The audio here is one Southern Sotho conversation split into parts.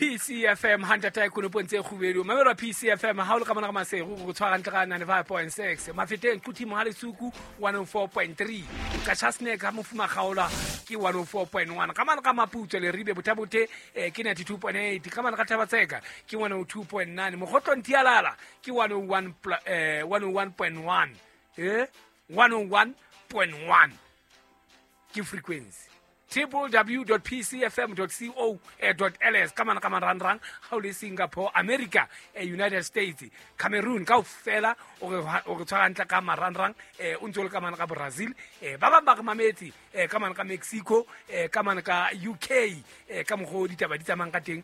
PCFM hantata e konopong tse kgubedu. Mamelwa PCFM ha o le ka mona ka Maseru go tshwara ntle ka 95.6. Mafeteng Quthimo ha Lesuku 104.3. Qachaseneke ha Mofuma Kgaola ke 104.1. Ka mane ka Maputswe Leribe Bothabothe ke 92.8. Ka mane ka Thabatseka ke 102.9. Mokgotlong Tialala ke 101 101.1. 101.1 ke frequency. www.pcfm.co.ls ka mana ka marangrang ga o le Singapore, America, United States, Cameroon ka ofela o re tshwara ntle ka marangrang, o ntse o le ka mana ka Brazil, ba bang ba re mametse ka mana ka Mexico, ka mana ka UK, ka mokgwa o ditaba di tsamayang ka teng.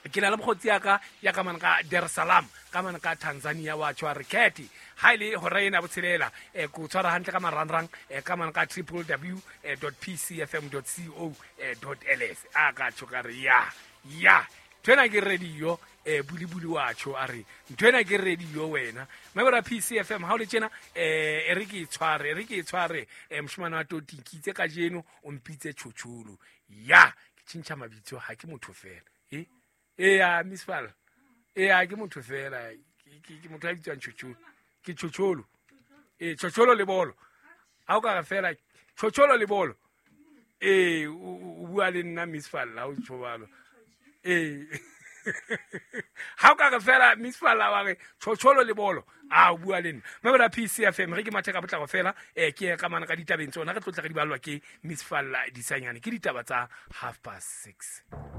Ke na le mokgotsi ya ka ya ka mana ka Dar es Salaam, ka mana ka Tanzania, wa tshwa re kete ha ile hora ena botshelela, ko tshwara hantle ka marangrang, ka mana ka www.pcfm.co.ls. A ka tjho ka re ya ya nthwena ke radio, bulibuli wa tjho a re nthwena ke radio wena. Mabera PCFM ha o le tjena, e re ke tshware, e re ke tshware, moshemane wa toti nkitse kajeno o mpitse tjhotjholo ya ke tjhentjha mabitso, ha ke motho fela. Eya Miss Fal, eya ke motho fela, ke motho a bitswang tjhotjholo, ke tjhotjholo, tjhotjholo le bolo. Ha o ka re fela tjhotjholo le bolo, o bua le nna Miss Fal ha o tjho jwalo. Ha o ka re fela Miss Fal wa re tjhotjholo le bolo, a o bua le nna. Mabera PCFM re ke mathe ka potlako fela, ke ka mana ka ditabeng tsona re tlotla re di ballwa ke Miss Fal Disanyane, ke ditaba tsa 6:30.